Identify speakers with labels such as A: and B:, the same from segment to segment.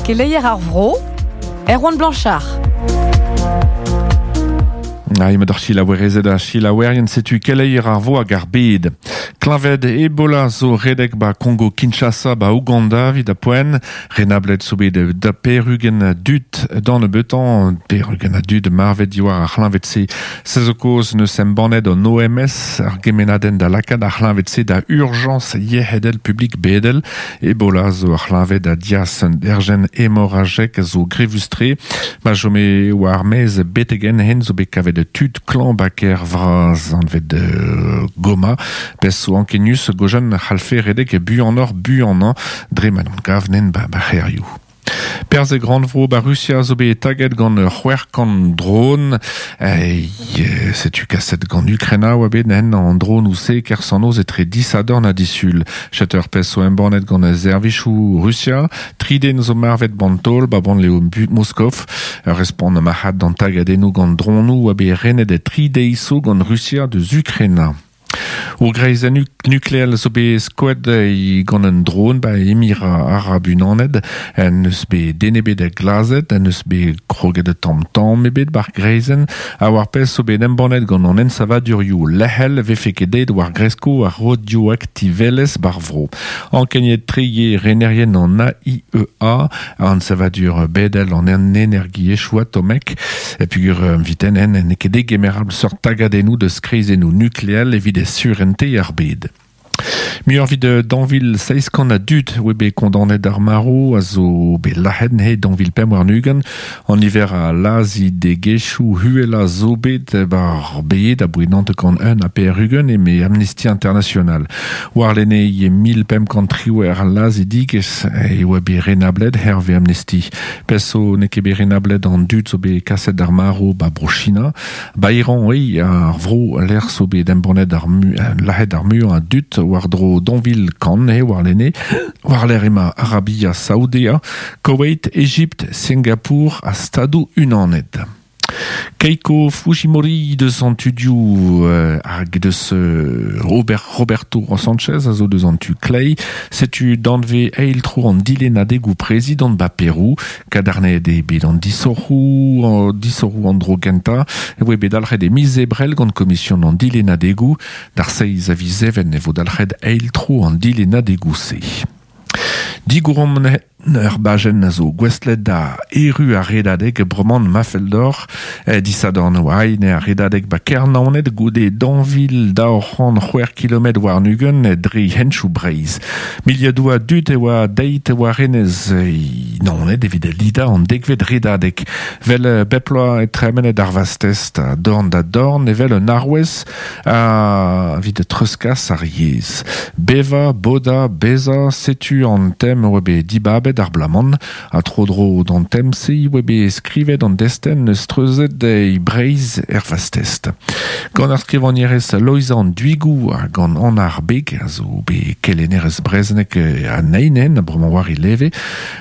A: Keleier ar vro, Erwan Blanchard.
B: Ha emañ d'ar selaouerezed ha selaouerien setu keleier ar vo hag ar bed. Kleñved Ebola zo redek ba Kongo Kinshasa ba Ouganda evit ar poent. Renablet zo bet da pe'r-ugent a dud d'an nebeutañ, pe'r-ugent a dud marvet diwar ar c'hleñved-se. Se zo kaoz n'eus embannet an OMS ar gemennadenn da lakaat ar c'hleñved-se da urjañs yec'hedel publik bedel. Ebola zo ur c'hleñved a dias un derjenn hemorajek a zo grevus-tre. Ma chome war maez betek-henn hen zo bet kavet tud klañv ba kêr vras anvet Goma. Pezh zo ankenius gojan c'hallfe redek buanoc'h buanañ dre ma n'on gav nen ba c'hêrioù. Perzh e grannvro ba Rusia zo bet taget gant 600 dron. Setu kaset gant Ukraina oa bet en an dronoù-se kerzh-an-noz etre disadorn ha disul. Setu ur pezh zo embannet gant servijoù Rusia. Tri den zo marvet ban taol ba bannlev Moskov. Ur respont marc'had d'an tagadennoù gant dronoù oa bet renet tri deiz zo gant Rusia deus Ukraina. Ur greizenn nukleel zo bet skoet gant un dron ba Emira Arab Unanet. N'eus bet den ebet glazet, n'eus bet kroget tamm tamm ebet bar greizenn. Ha war pezh zo bet embannet gant an ensavadurioù lec'hel vefe ket deuet war gresko ar radioaktivelezh bar vro. Ankeniet tre eo renerien an AIEA, ensavadur bedel an energiezhioù atomek. Peogwir viten en n'eo ket degemerabl seurt tagadennoù deus kreizennoù nukleel evit surente ar bed. Muioc'h evit dañvil 700 a dud oa bet kondaonet d'ar marv a zo bet lazhet neuze 2025. An niver a lazhidegezhioù uhelañ zo bet bar bed aboe 91 ha eme Amnesty International. Warlene e 1518 lazhidigezh e oa bet renablet hervez Amnesty. Pezh zo n'eo ket bet renablet an dud zo bet kaset d'ar marv ba Bro-China. Ba Iran eo ar vro lec'h zo bet embannet ar lazhet ar muiañ a dud war-dro daou kant eo warlene. War-lerc'h emañ Arabia Saoudea, Koweït, Egipt, Singapour ha Stadoù-Unanet. Keiko Fujimori deus an tudioù hag deus Robert, Roberto Sanchez a zo deus an tu kleiz. Setu danvez eil tro an dilennadegoù prezidant ba Perou. Kadarnaet eo bet an disoc'hoù, disoc'hoù an dro gentañ e voe bet dalc'het e miz Ebrel gant komision an dilennadegoù. D'ar seizh a viz Even e vo dalc'het eil tro an dilennadegoù-se. Digouromp Ur bajenn a zo gouestlet da erru ar redadeg bremañ ma fell deoc'h. Disadorn oa ine ar redadeg ba Kernaoned goude 2206 kilometr warn-ugent dre henchoù Breizh. Miliadoù a dud e oa deit war enez Naoned evit lidañ an dekvet redadeg. Vel bep bloaz e tremenet ar vastez a dorn da dorn evel un arouez evit treuzkas ar yezh. Bevañ, bodañ, bezañ, setu an tem oa bet dibabet ar bloaz-mañ. Ha tro-dro d'an tem-se oa bet skrivet an destenn eus treuzet e Breizh er vastest. Gant ar skrivagnerez Loeiza an Duigou ha gant Anna ar Beg, a zo bet kelennerez brezhoneg anezhi, bremañ war he leve,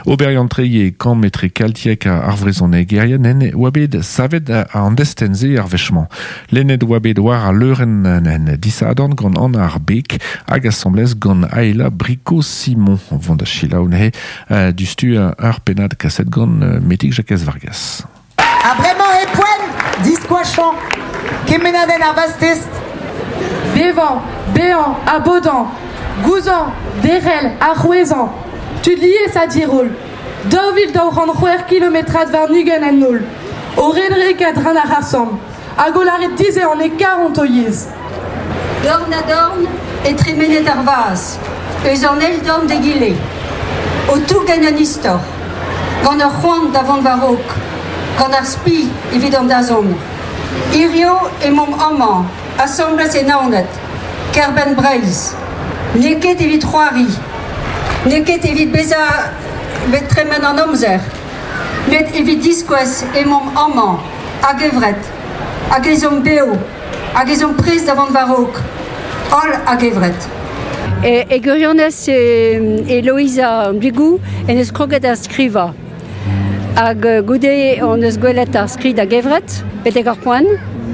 B: Oberiant-tre eo kamp etre keltiek ar vrezhonegerien en oa bet savet an destenn-se ar wech-mañ. Lennet oa bet war al leurenn en disadorn gant Anna ar Beg hag asambles gant Aela Bricot-Simon. Vont da selaou neuze diouzhtu ur pennad kaset gant Metig Jakez Vargas.
C: Ha bremañ e poent diskoachañ kemennadenn ar vastest.
D: Bevañ, bezañ ha bodañ, gouzañv, derc'hel ha c'hwezhañ, tud lies ha diroll, 2206 kilometrad warn-ugent en holl, o redek a-dreñv ar c'harr-samm, hag o lâret dizehan e karont o yezh.
E: Dorn-ha-dorn e tremenet ar vazh, eus an eil dorn d'egile, o tougen un istor, gant ur c'hoant da vont war-raok, gant ar spi evit an dazont. Hiziv emaomp amañ, asambles e Naoned, kêr-benn Breizh. N'eo ket evit c'hoari, n'eo ket evit bezañ bet tremen an amzer, met evit diskouez emaomp amañ, a-gevret, hag ez omp bev, hag ez omp prest da vont war-raok, holl a-gevret.
F: E gwirionez e Loeiza Bigou en deus kroget da skrivañ. Hag goude hon eus gwelet ar skrid a-gevret, betek ar poent.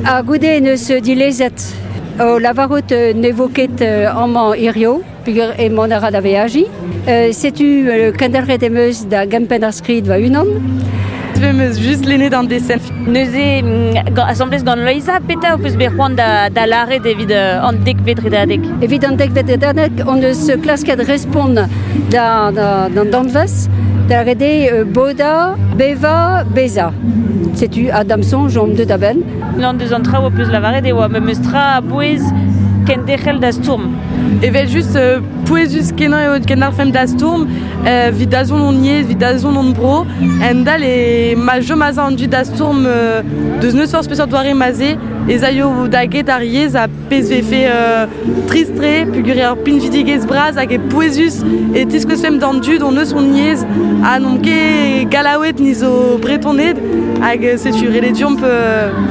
F: Ha goude en deus dilezet o lavarout ne vo ket amañ hiziv. Peogwir emaon a ra da veajiñ. Setu kendelc'het em eus da gempenn ar skrid va-unan.
D: Em eus just lennet an desenn.
G: Neuze, asambles gant Loeiza, petra ho peus bet c'hoant da lâret evit an dekvet redadeg?
F: Evit an dekvet redadeg, hon eus klasket respont d'an danvez, da lâret eo bodañ, bevañ, bezañ. Setu, ha da'm soñj omp deuet a-benn.
G: Unan deus an traoù ho peus lavaret e oa memes tra a-bouez kenderc'hel da stourm.
D: Evel-just, pouezus-kenañ eo kendalc'hfemp da stourm evit dazont hon yezh, evit dazont hon bro. Endal e ma chom aze an dud da stourm deus n'eus forzh peseurt doare ma 'z eo, ez aio da get ar yezh ha pezh 'vefe trist-tre peogwir eo ur pinvidigezh bras hag eo pouezus e tiskouezfemp d'an dud hon eus hon yezh ha n'omp ket Gallaoued ni zo Bretoned hag setu ret eo deomp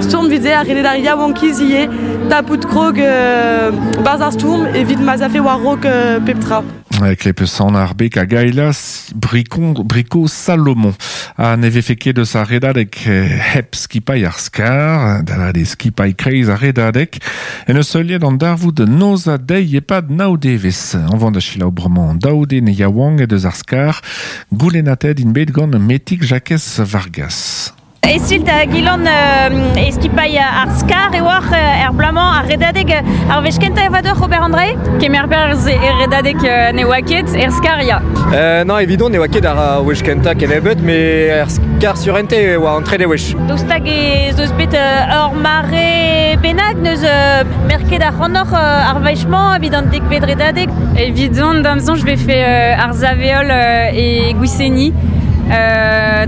D: stourm evit se ha ret eo d'ar yaouankiz ivez tapout krog 'barzh ar stourm evit ma'z afe war-raok pep tra.
B: Klepesan ar beg hag Ailas Bricot Salomon. Ha ne vefe ket eus ar redadeg hep skipailh ar skar, da lâret eo skipailh kreiz ar redadeg, en eus heuliet an darvoud noz ha deiz e-pad nav devezh. Anv da selaou bremañ daou den yaouank deus ar skar, goulennatet int bet gant Metig Jakez Vargas.
G: Esilt hag Ilan e skipailh ar Skar e oac'h er bloaz-mañ ar redadeg ar wech kentañ e oa deoc'h ober an dra-se?
H: Kemer perzh er redadeg ne oa ket, er Skar ya.
I: Non, evidon ne oa ket ar wech kentañ kennebeut, met er Skar surente e oa an trede wech.
G: Daoust hag ez eus bet ur mare bennak n'eus merket ac'hanoc'h ar wech-mañ evit an dekvet redadeg?
H: Evidon, da'm soñj, 'vefe ar sav-heol e Gwiseni.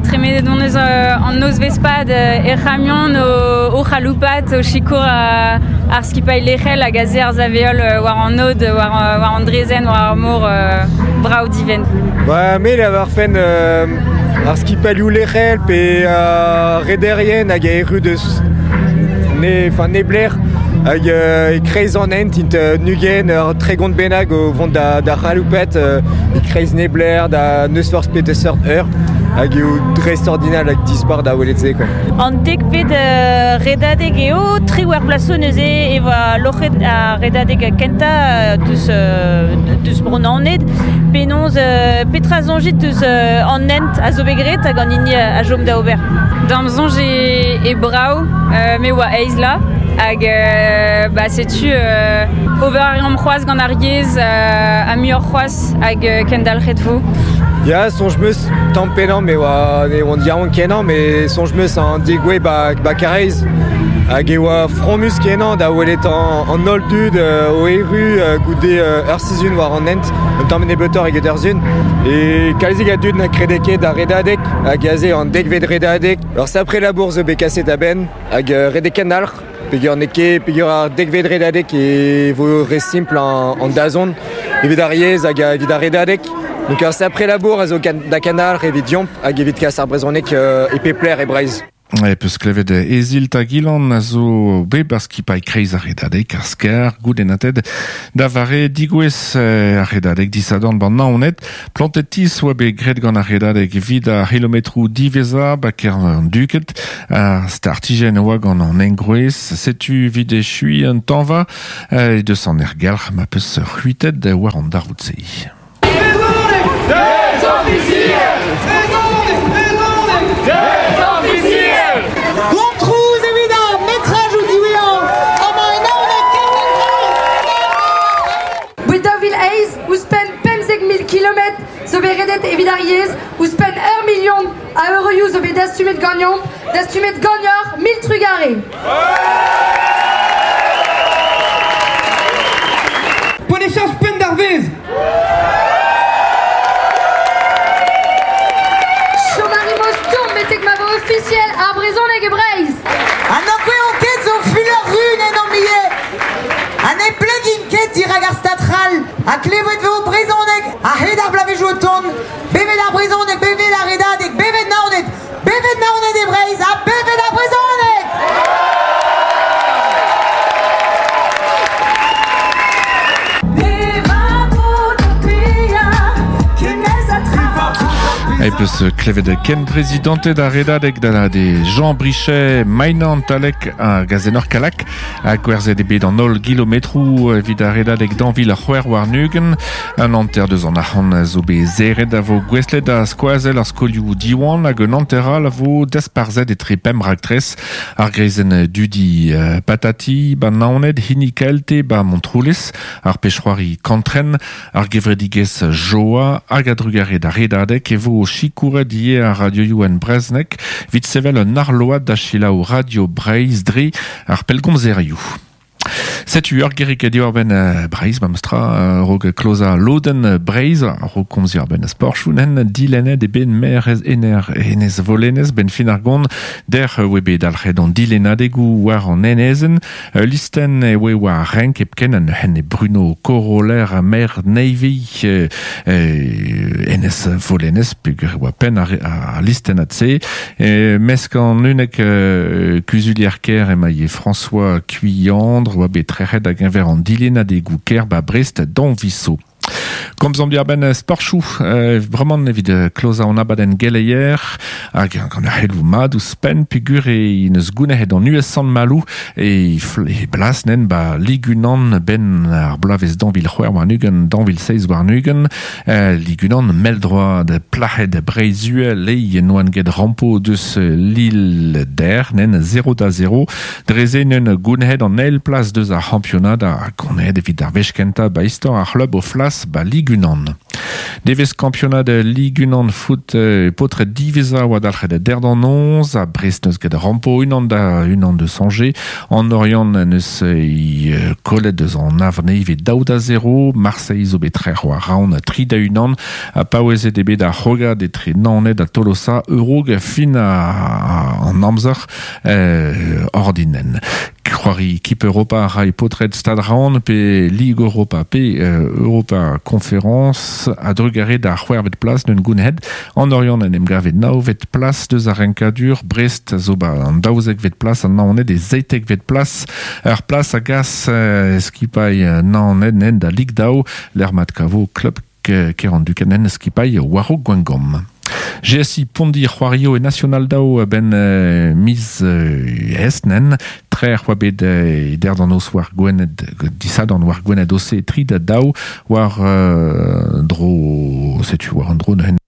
H: Tremenet hon eus an nozvezh-pad er c'hamion o c'haloupat, o sikour ar skipailh lec'hel hag aze ar sav-heol war an aod, war an draezhenn, war ar mor brav divent.
I: Ba, me lavarfen ar skipailhoù lec'hel pe ar rederien hag a erru deus ne, enfin, neblec'h hag e-kreiz an hent int 20 ur 30 bennak o vont da c'haloupat e-kreiz neblec'h da n'eus forzh peseurt eur hag eo dreistordinal hag dispar da welet se quoi.
G: An dekvet redadeg eo, triwec'h bloaz zo neuze e oa loc'het ar redadeg kentañ deus Bro-Naoned. Penaos, petra soñjit deus an hent a zo bet graet hag an hini a chom da ober?
H: D'am soñj e brav, me oa eizh la hag bah, setu ober a reomp c'hoazh gant ar yezh ha muioc'h c'hoazh hag kendalc'het vo.
I: Ya, soñj 'm eus tamm pennañ me oa ne oan yaouank kenañ met soñj 'm eus an degouezh ba, ba Karaez hag e oa fromus kenañ da welet an holl dud o erru goude ur sizhun war an hent un tamm nebeutoc'h eget ur sizhun e kalzik a dud na krede ket ar redadeg hag aze an dekvet redadeg ur sapre labour zo bet kaset a-benn hag redek kendalc'h peogwir n'eo ket peogwir ar dekvet redadeg e vo re simpl an dazont evit ar yezh hag evit ar redadeg donc ur sapre labour a zo da kendalc'h evit deomp hag evit kas ar brezhoneg e pep lec'h e Breizh.
B: E peus klevet Ezilt hag Ilan a zo bet bar skipailh kreiz ar redadeg, ar skar, goulennatet da vare digouez ar redadeg disadorn ban Naoned. Plantet tiz oa bet graet gant ar redadeg evit ar c'hilometroù diwezhañ ba kêr an Duked. Ar startijenn a oa gant an engroez. Setu evit echuiñ an tañva e deus an aergelc'h ma peus c'hwitet war an darvoud-se.
C: Gontrouz evit ar metrajoù diwezhañ amañ en Naoned
D: Boued 2008, ouzhpenn 15 000 kilometr zo bet redet evit ar yezh, ouzhpenn ur milion a euroioù zo bet dastumet ganeomp, dastumet ganeoc'h, mil trugarez!
J: Ponechañs penn d'ar vezh!
D: Chom a rimp o stourm betek ma vo ofisiel ar brezhoneg e Breizh!
C: Ha n'ankoueomp ket zo fulor run en hon ivez! Ha ne plegin ket dirak ar Stad c'hall ha klevet vo brezhoneg a-hed ar bloavezhioù o tont. Bevet ar brezhoneg, bevet ar redadeg, bevet Naoned, bevet Naoned e Breizh ha bevet ar brezhoneg!
B: E peus klevet ken prezidanted ar redadeg da de Jean Brichet, Mainan Talek ha Gazenor Kalak ha gwerzhet eo bet an holl gilometroù evit ar redadeg danvil ar c'hwec'h warn-ugent. Un hanter deus an arc'hant zo bet serret a vo gouestlet da skoazell ar skolioù Diwan hag un hanter all a vo dasparzhet etre pemp raktres ar greizenn dudi Patati ba Naoned, hini KLT ba Montroulez, ar pezh-c'hoari Kantren, Ar gevredigezh Joa hag a-drugarez d'ar Redadeg e vo sikouret ivez ar radioioù en brezhoneg evit sevel un arload da selaou Radio Breizh dre ar pellgomzerioù. Setu ur gerig diwar-benn Breizh, memestra, a-raok klozañ lodenn Breizh, a-raok komz diwar-benn sporchoù, nen dilennet eo bet maer Ener Enez Volenez benn fin ar gont. Dec'h e oe bet dalc'het an dilennadegoù war an enezenn. Ul listenn e oe war renk hepken an henne Bruno Coroller maer Navy enez Volenez peogwir e oa penn ar listennad-se. Mesk an unnek kuzulier-kêr emañ François Cuillandre oa bet trec'het da-geñver an dilennadegoù kêr ba Brest dañviso. Komzomp diwar-benn sporchoù, bremañ evit klozañ an abadenn geleier hag gant ar c'heloù mat ouzhpenn peogwir e neus gounezet an US Sant-Maloù e, e blas nen ba Lig unan benn ar bloavezh 2026 2027 Lig unan mell-droad plac'hed Breizh-Uhel e noan get rampo deus Lille der nen 0 da 0 Dre se neun gounezet an eil plas deus ar c'hampionad ha gonezet evit ar wech kentañ ba istor ar c'hlub o flas ba Lig unan. Devezh kampionad Lig unan foot paotred diwezhañ oa dalc'het der d'an noz ha Brest neus get rampo unan da unan deus Angers. An Oriant neus kollet deus an Havre ivez 2-0. Marseille zo bet trec'h war Raon 3-1 ha paouezet eo bet ar c'hrogad etre Naoned ha Tolosa a-raok fin an amzer. Ordinen. C'hoari Kip Europa a ray paotred Stad Raon pe Lig Europa pe Europa Conférence a-drugarez d'ar c'hwec'hvet plas d'un gounhed. An Oriant en em gave navet plas deus ar renkadur. Brest zo ba an 12vet plas, an Naoned e 17vet plas. Ur plas a gas skipailh Naoned nen da Lig daou, lec'h mat kavo klub Kerandukenn skipailh war-raok Gwengamp. GSI Pondi c'hoario e National daou a-benn miz Esnen. Trec'h oa bet e der d'an noz war Gwened, disadorn war Gwened OC 3 da daou war dro, setu war an dro neuze.